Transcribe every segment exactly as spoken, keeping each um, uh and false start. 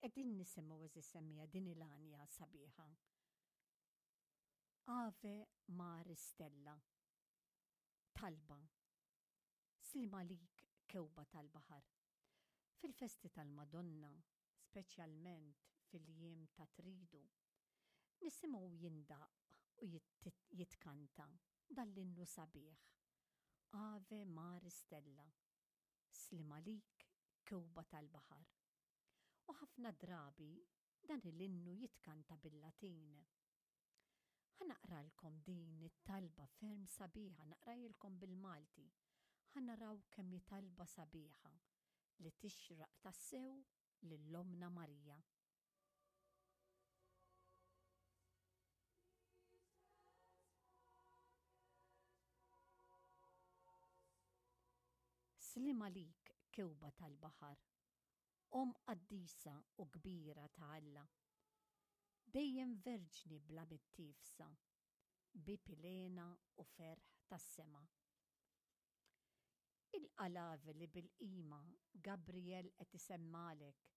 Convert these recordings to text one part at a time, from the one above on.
Qegħdin nisimgħu, għeżież semmiegħa, din il-għanja sabiħa. Ave Maris Stella. Talba. Sliem għalik, kewkba tal-baħar. Fil-festi tal-Madonna, speċjalment fil-jiem ta' Tridu, nisimgħu jindaqq u jitkanta dan l-innu sabiħ. Ave Maris Stella. Sliem għalik, kewkba tal-baħar. U ħafna drabi dan l-innu jitkanta bil-Latin. Ħa naqralkom din it-talba ferm sabiħa, naqrahielkom bil-Malti. Ħa naraw kemm hi talba sabiħa li tixraq tassew lil Ommna Marija. Sliem għalik, kewkba tal-baħar, Omm qaddisa u kbira ta' Alla. Dejjem verġni bla mittiefsa, bieb il-hena u ferħ tas-sema. Il-qalave li bil-qima Gabriel qed isemmalek,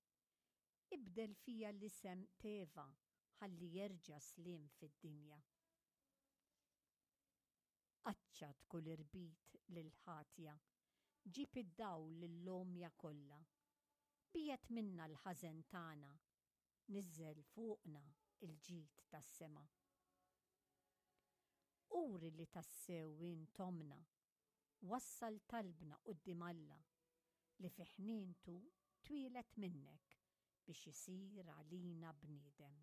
ibdel fija l-isem t'Eva ħalli jerġa' sliem fid-dinja. Qaċċat kull irbit lil ħatja, ġib id-dawl lill-għomja kollha. Biegħed minna l-ħażen tagħna, niżżel fuqna il-ġid tas-sema. Uri li tassew int ommna, wassal talbna quddiem Alla li fi ħnientu twieled minnek biex isir għalina bniedem.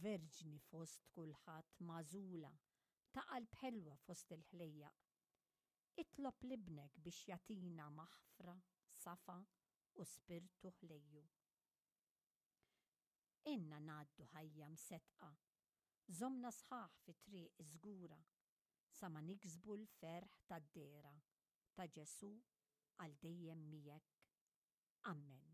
Verġni fost kulħadd magħżula, ta' qalb ħelwa fost il-ħlejjaq. Itlob 'l Ibnek biex jagħtina maħfra, safa u spirtu ħlejju. Għinna ngħaddu ħajja mseddqa, żommna sħaħ fi triq żgura, sa ma niksbu l-ferħ tad-dehra ta' Ġesù għal dejjem miegħek. Amen.